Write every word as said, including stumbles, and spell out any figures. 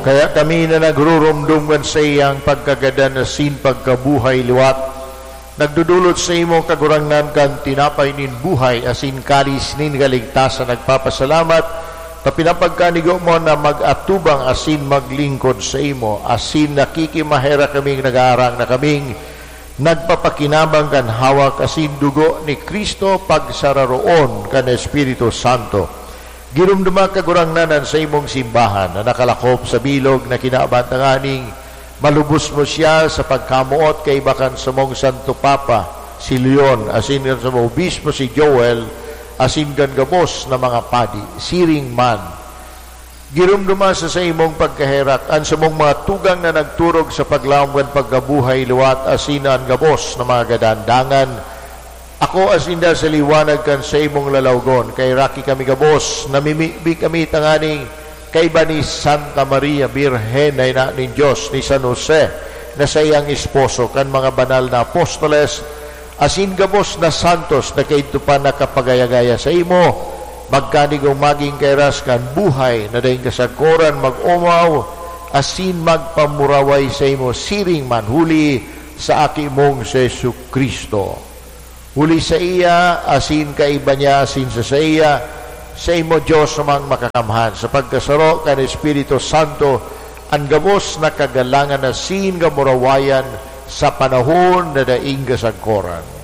Kaya kami na nagruromdom kan saiyang pagkagadan asin pagkabuhay liwat, nagdodolot sa imo, Kagurangnan, kan tinapay nin buhay asin kalis nin kaligtasan, nagpapasalamat ta pinapagkanigo mo na mag-atubang asin maglingkod sa imo, asin nakikimaherak kaming nag-aarang na kaming nagpapakinabang kan hawak asin dugo ni Cristo pagsararoon kan Espiritu Santo. Giromdoma, Kagurangnan, an saimong simbahan na nakalakop sa bilog na kinaban, tanganing malubos mo siya sa pagkamoot kaiba kan samong Santo Papa, si Leon, asin kan samong Obispo, si Joel, asin kan gabos na mga padi. Siring man, giromdoma sa saimong pagkaherak an samong mga tugang na nagturog sa paglaom kan pagkabuhay liwat asin an gabos na mga gadan. Dangan ako asin sinda sa liwanag kan saimong lalawgon. Kaheraki kami gabos, namimibi kami tanganing kaiba ni Santa Maria Birhen na ina nin Dios, ni San Jose na saiyang esposo, kan mga banal na apostoles, asin gabos na santos na kaidto pa nakapagaya-gaya saimo, magkanigong magin kairas kan buhay na daing kasagkoran, mag-omaw asin magpamuraway saimo siring man huli sa Aki mong si Jesu-Cristo. Huli saiya, asin kaiba niya, asin sa saiya, saimo, Dios Amang Makakamhan, sa pagkasaro kan Espiritu Santo, an gabos na kagalangan asin kamurawayan sa panahon na daing kasagkoran.